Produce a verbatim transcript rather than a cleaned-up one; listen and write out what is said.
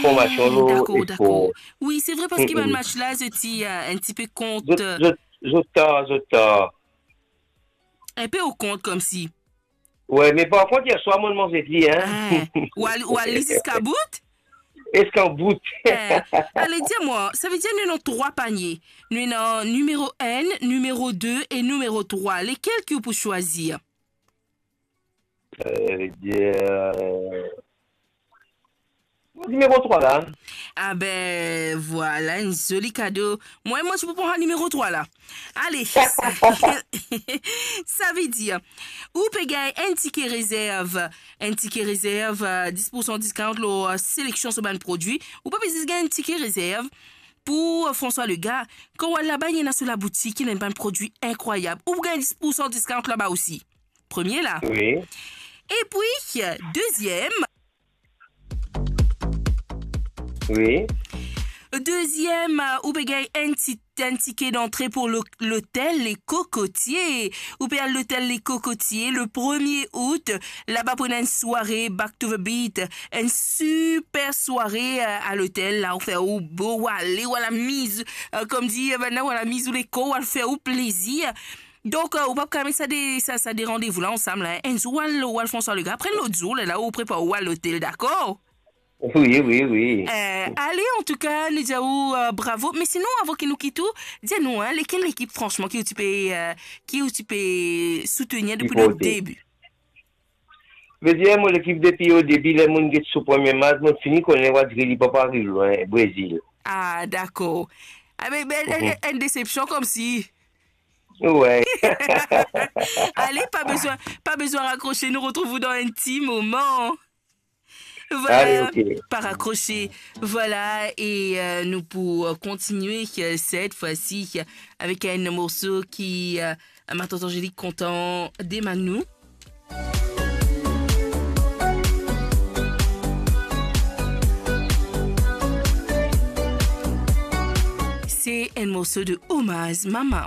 Formasion, lo dakor, dakor. Wi, se vre, parski bann match la, zot ti, euh, enn tipe kont, zot, euh, zot, zot tar, zot tar. Enpe o kont, komsi. Wi, me par kont, yer swar, mo manz li, hein. Ah, ou al, ou al li ziska bout? Ziska bout. Eh, ale, dir mwa, savedir nou ena trwa panie. Nou ena nimero enn, nimero de e nimero trwa. Lekel ki ou pou swazir? Euh, vedir, euh, nimero trwa la. Ah ben, vwala, enn zoli kado. Mwa, mwa, ti pou pran nimero trwa la. Ale, sa, savedir, ou pe gagn enn tike rezerv, enn tike rezerv, euh, dis pour san discount lor, euh, seleksion so bann prodwi. Ou pa pe zis gagn enn tike rezerv pou, euh, François Lega. Kan ou al laba, ena so laboutik, ena bann prodwi inkrwayab. Ou gagn dis pour san discount laba osi. Premie la. Wi. Epi, deziem. Wi. Deziem, ou pe gagn enn ti, enn tike dantre pou lo-, lotel Les Cocotiers. Ou pe al lotel Les Cocotiers le premie out. Laba pou ena enn sware Back to the Beat. Enn siper sware, euh, a lotel la. Ou fer ou bo, ou ale, ou al amiz, euh, kouma dir, euh, bann la, ou al amiz ou lekor, ou al fer ou plezir. Donk, euh, ou pa kapav met sa de, sa, sa de randevou la ansam la, hein. Enn zour ou al, ou al François Lega, apre lot zour, lerla ou prepar ou al lotel, dakor? Wi, wi, wi. Euh, ale, antouka, nou dir ou, euh, bravo. Me sinon, avan ki nou kit ou, dir nou, hein, lekel lekip, fransman, ki ou ti pe, euh, ki ou ti pe soutenir depi le debi? Vedir, mo lekip depi o debi, ler monn get so premie match, monn fini kone, wadri li pa pou ariv lwin, Brezil. Ah, dakor. Ah, me, me, enn, enn desepsion koumsi. Wi. Ale, pa bezwin, pa bezwin rakrose, nou retrouv ou dan enn ti moman. Vwala, ale, ok. Pa rakrose. Vwala, e, euh, nou pou, euh, kontinie, euh, set fwa si, euh, avek enn morso ki, euh, ma tante Angélique kontan demann nou. Se enn morso de Omaz Mama.